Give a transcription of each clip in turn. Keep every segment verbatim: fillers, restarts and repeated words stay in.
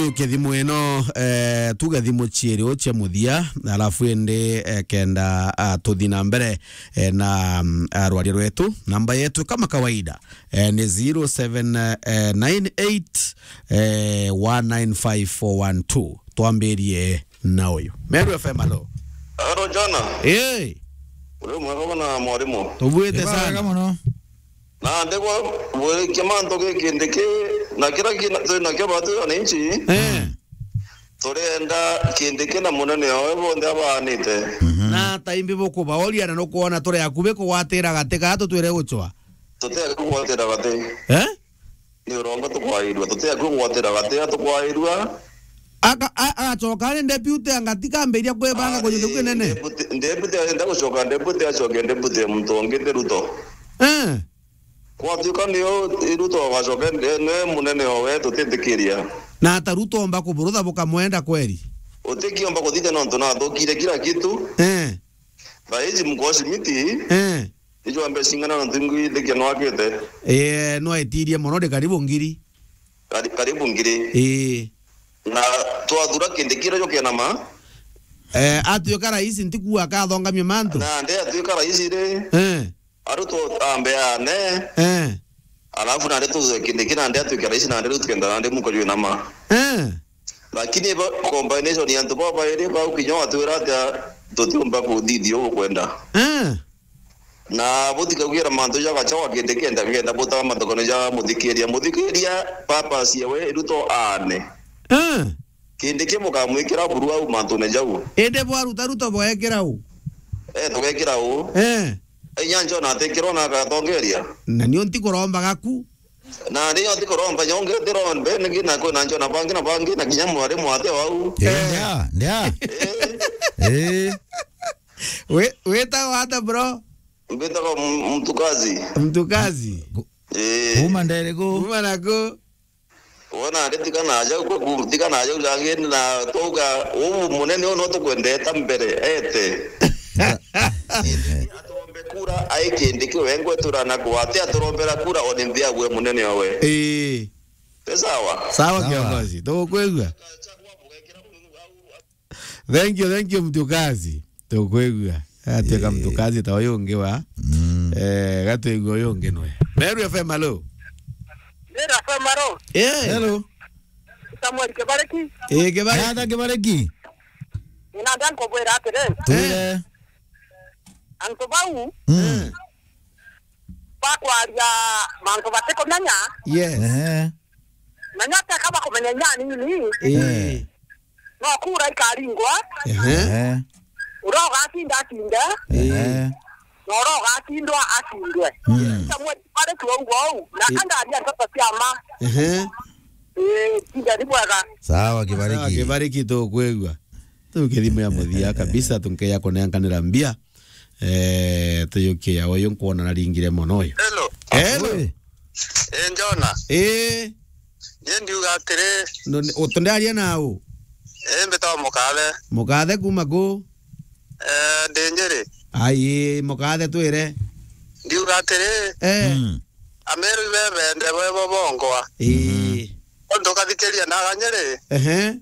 Tuke thimu ino, eh, tuge thimu ciiri u cia muthia, alafu indi, eh, kenda, ah, tuthi na mbere, eh, na, mm, ah, rwaria rwetu. Namba yetu kama kawaida, eh, ni zero seven nine eight, eh, one nine five four one two. Twambirie na uyu. Meru F M, alo. Alo, Jona. Eh. Uri mwega na mwarimu? Tubwite sana. Wega muno. Na ndegwa burikia mantu gi Kindiki, na kira kina, twina kio batu wananchi. Eh. Turenda Kindiki na munene owe bonthe abaanite. Mhm. Na taimbi bukubaoria na nukwona turi akubi kugwatira gati gaa tutwire gucwa? Tuti akubi kugwatira gati. Eh? Ni urongo tukwairua, tuti akubi kugwatira gati, tukwairua. Aka-, a-, agacoka ari deputy, angati kambiria kwibanga kujuka kinene. Deputy, deputy arenda gucoka deputy, acoke deputy muntu ungi ti Ruto. Eh. Gwatuika ni u, Ruto agacoka ni, ni munene owe, tutitikiria. Na ata Ruto omba kuburutha bukamwenda kweri? Utikiomba kuthithia nontu nathukire kila kitu. Eh. Thaa iji Mkosi miti. Eh. Ijo ambe cing'ana nontu ingwi thikia nwakite. Eh, nwaitirie mono, ndi karibu ngiri. Kari-, karibu ngiri. Ii. Na twathura Kindiki ira jo kena ma. Eh, atuika rais ntiku akathongamia mantu. Na nde atuika rais ri. Eh. Aruto ambe ane. Eh. Alafu nande tuze Kindiki nande atuike rais nande riu tukenda nande muko jwe nama. Eh. Lakini ba, combination ya antu babairi bau kinya watwira atia tutiumba kuthithia ugukwenda. Eh. Na butikaugira mantu ja gacha wa Kindiki kenda, kenda butaga mathokone ja muthikiria. Muthikiria purpose yewe Ruto ane. Eh. Kindiki bukamwikira buru au mantune jau. Indi bwaruta Ruto bwekira u? Eh, tugekira u? Eh. Inya Jona atikirwo na agatongeria. Na nio ntikuromba gaku. Na nio ntikuromba nyonge, ntirombe, ningi na kwina Jona bangi na bangi, na kinya mwari mwate wau. Eh, eh. Ndia, ndia. Eh. Eh. We, witagwa ata, bro? Mbitagwa M-, Mtukazi. Mtukazi? Ku-, eh. Kuma ndere ku? Kuma na ku? Wona, ndi tigana aja, ku-, ku-, tigana aja, jangini na twauga, uu munene uu no tukwendeta mbere, ete. Aturombe kura, ai Kindiki wengwe turana kwate, aturombera kura, one mbia gwe munene owe. Ii. Ni sawa? Sawa, sawa. Kiongozi, tugukwigua. Thank you, thank you, Mtukazi. Tukwigua. Atuika, eh, Mtukazi ta uyu ungi wa. Mm. Eh, gatwigua uyu ungi nwe. Meru F M, alo. Meru F M, alo. Eh. Hello. Samuel Kibariki. Eh, Kibariki. Ata Kibariki? Ina ndan kubwira atiri. Twire. Eh. Antu bau. Mm. Bakwaria mantu batikumenya. Yes. Ehe. Na nyata kaba kumenya inya nini. Eh. Eh. No kura ikaringwa. Ehe. Ehe. Uria ugacinda acinde. Ehe. Na uria ugacindwa acindwe. Mm. Samuel Kibariki wauga uu. Na, eh, andaria nteto cia ma. Ehe. Eh, tinda ni bwega. Sawa, Kibariki. Sawa, Kibariki, tukwigua. Tukithimo ya muthia kabisa, tunkeya kunenkanira mbia. Eh, tuyukia uyu nkwona naringire mono uyu. Hello. Hello. Oi. Eh, Jona. Eh. Ni ndiuga atiri. No, ni, utundaria nau? Eh, mbitagwa Mukathe. Mukathe kuma ku? Eh, ndi Njiri. Ai, Mukathe twire. Ndiuga atiri. Eh. Mm. Ameru ibebende bwebo bongwa. Ii. Mhm. Untu ukathikiria na Aganyiri. Ehe.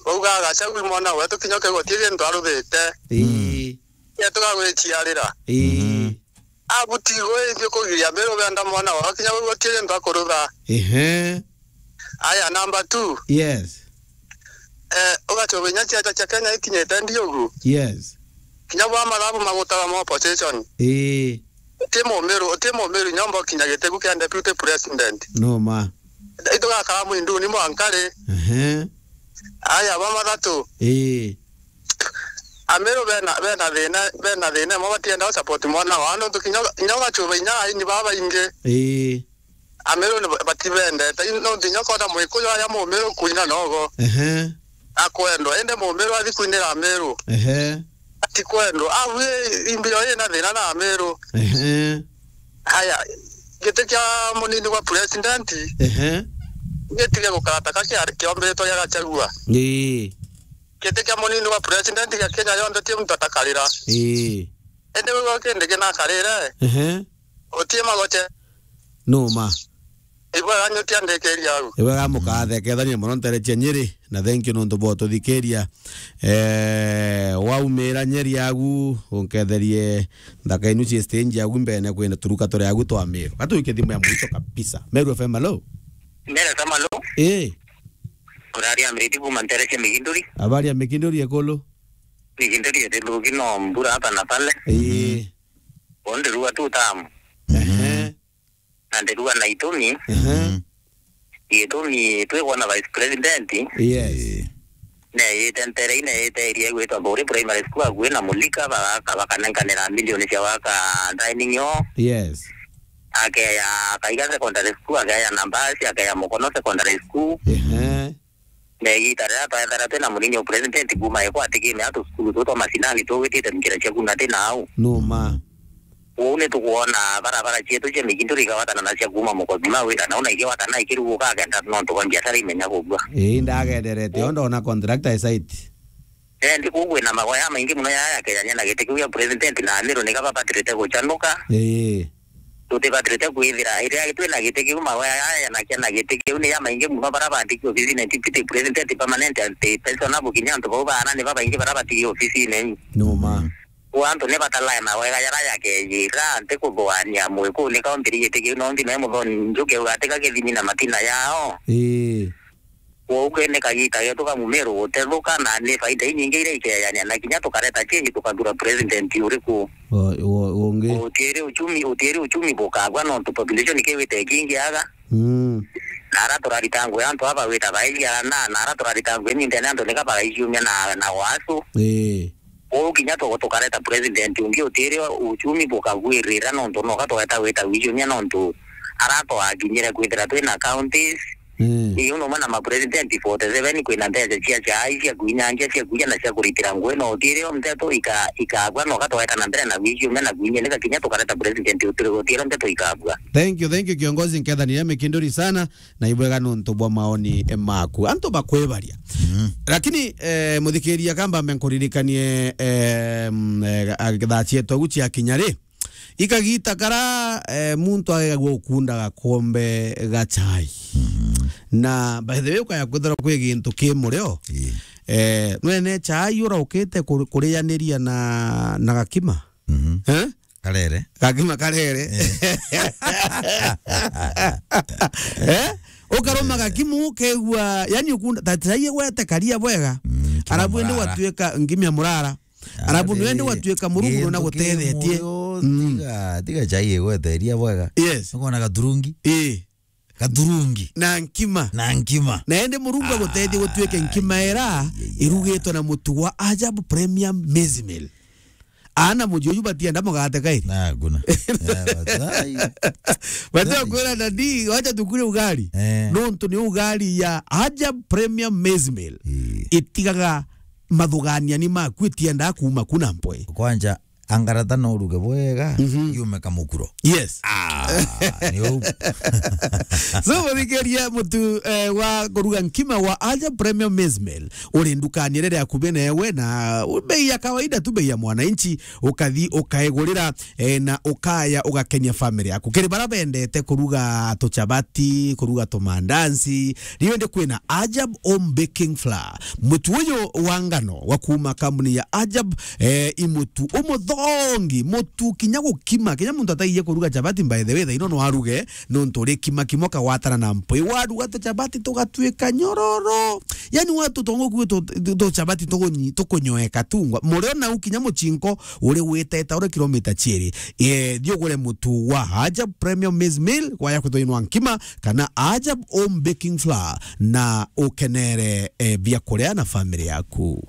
Bauga Gachagua mwana wetu kinya ukegwa ti gintu aruthite. Ii. Yetu gagwiciarira. Ii. Mhm. Abutigwe ithio kugiria Ameru benda mwana wao kinya bauga ti gintu akurutha. Ehe. Aya, number two. Yes. Eh, ugacoba inya ciaca cia Kenya ikinyite ndiugu. Yes. Kinya bwa mathabu magutaga ma opposition. Ii. Uti mumiru, uti mumiru nyomba ukinya gitigu kia deputy president. No ma. Itugakara mwinduni mwankari. Ehe. Aya, ba mathatu. Ii. Ameru bena, bena thina, bena thina, mo batienda support mwana wao, nontu kinya, kinya ugacuba inya aini baba ingi. Ii. Ameru ni ba-, batibendete. I-, nontu inya kona Mwikuyu aya Mumiru kuina nogo. Ehe. Akwendwa. Indi Mumiru athi kuinira Ameru. Ehe. Atikwendwa. Au i-, imbiro ina thina na Ameru. Ehe. Aya, giti kia munini wa president. Ehe. Gitige gukara ta ka kiari kiombiritwe gia Gachagua. Ii. Giti kia munini wa president gia Kenya yonthe ti muntu atakarira. Ii. Indi we kindi kinakarire. Ehe. Utie magoche. No ma. Ibwega nyukia ndekeria au. Ibwega mukathekethania muno nterecia Nyeri, na thank you nontu bwa ututhikiria. Eh, waumira Nyeri agu, unketherie nthaka inu cie stage agu mbene kwina turuka turi agu twa Meru. Gatwike thimu ya mwisho kabisa. Meru F M, hello? Meru F M, hello? Eh. Uraria Mriti kuma nterecia Miginduri. Habari ya Miginduri ekulu? Miginduri eti ndugi no mbura hapa na pale. Eh. Onde rua tu tamu. Ehe. Na ndirua na itumi. Ehe. Itumi twi kwona Vice President. Yes. Neeyite ntere, neeyite area igwitwa Mburi Primary School, akui na Mulika, bagaka, bakanenkanira milioni cia gwaka dining hall. Yes. Akeya Kaiga Secondary School, akeya Nambasi, akeya Mukono Secondary School. Ehe. Na igita riria twethera twina munini o president kuuma ekwa atikime atu cukuru tu twa macinani tugwitite nkira cia kuna ti nau. Numa. Uu ni tukwona barabara cietu cia Miginduri igawatana na cia kuuma Mukothima wira nau na igiwatana ikiruguka agenda nontu bwa biashara imenya kugua. Ii, ndagenderete, o ndona contractor e site. Eh, ndi kuu kwina magoya maingi muno ya, ya kejania na giti kiu gia president na Amiru ni kaba batirite gucanuka. Ii. Tutibatirite kwithira iria twina giti kiu, mawe aya na kia na giti kiu ni ya maingi muno, bara bandiki ofisine, deputy president, permanent, anti pensioner, bukinya antu bau baana ni babaingi bara batigi ofisine. Numa. Kwa antu ni batalae mawega jara jakeyira, anti kuthuania mwiku ni kaunti giti kiu, no nthime muthoni njuke ugatika githimi na matina yao. Ii. Kwou ke ni kagita getu ka Mumiru gutethuka, na ni faida inyingi iria ikeyania, na kinya tukareta change, tukathura president uriku. O, o, ungi. Utiiri uchumi, utiiri uchumi bukagwa nontu population kiwite ikingiaga. Mm. Na ara turarita ngugi antu aba wita baiji ana, na ara turarita ngugi mintene antu nika bagaiciumia na, na wasu. Ii. Kwou kinya tu-, tukareta president ungi utiiri uchumi bukagwirira nontu noka tugeta wita wiiciumia nontu ara twakinyire kwithira twina counties. Mm. Ii, uno mwe na ma president forty seven kwina mbeca cia chai, cia kuinyangia, cia kuja na cia kuritira ngugi, no utiiri o nteto ika-, ikagwa, no gatweka na mbere na gwiciumia na kuinyanika kinya tukareta president utiri utiiri o nteto ikagwa. Thank you, thank you, kiongozi, nkethaniria Mikinduri sana, na ibwega nontu bwa maoni maku. Antu bakwibaria. Mm. Lakini, eh, muthikiria kamba mbe nkuririkanie, eh, mm, eh, thaa cietu agu cia kinya ri, ikagita kara, eh, muntu agegagua ukunda gakombe ga chai. Mhm. Na by the way, ukaya kwithirwa kwi gintu ki murio. Ii. Eh, nwene chai uraukite kur-, kurianiria na, na gakima? Mhm. Eh? Karere. Gakima karere. Eh? Eh? Ukaruma gakimu ukegua, yani ukunda, ta chai igwete karia bwega. Mm, kima. Arabu indi murara. Gwatuika ngimia murara. Arabu nwe ndi gwatuika Murungu nona gutethetie. Mm. Tiga, tiga chai igweteria bwega. Yes. Ukona gaturungi? Ii. Gaturungi. Na nkima. Na nkima. Na ende Murungu agutethie gutuike nkima era irugitwe na mutu wa Ajab Premium Maize Meal. Ana muji uyu batienda mugate kairi. Na, kuna. Eh, batai. Batai kwira dadi, wacha tukule ugali. Eh. Nontu ni ugali ya Ajab Premium Maize Meal. Ii. Itigaga mathugania ni maku, itiendaa kuuma ku na mpwe. Kwanja, angarata no uruge bwega, mhm, yume kamukuro. Yes. Ah, ni uu. So, muthikiria mutu, eh, wa kuruga nkima wa Aja Premium Maize Meal, uri ndukani iria iri akubi newe, na bei ya kawaida tu, bei ya mwananchi, ukathi ukaigurira, eh, na ukaya ugakenia family yaku. Kiri bara bendete kuruga tuchabati, kuruga tumandansi, riu ndi kwina Ajab Home Baking Flour. Mutu uyu wa ngano wa kuuma kambuni ya Ajab, eh, i mutu umuthongi, mutu kinya gukima, kinya muntu ataiye kuruga chapati, by the way, thaino no aruge, nontu uri kima kimo kagwatana na mpwi. Waruga tu chapati tugatuika nyororo. Yani watu tongo kwi tu, tu, tu chapati tugunyi-, tukunyoeka tungwa. Murio nau kinya muchinko uri witeta uri kilomita chiiri. Eh, thiugure mutu wa Ajab Premium Maize Meal, waya kwithwa inwa nkima, kana Ajab Home Baking Flour, na ukenere, eh, biakuria na family yaku.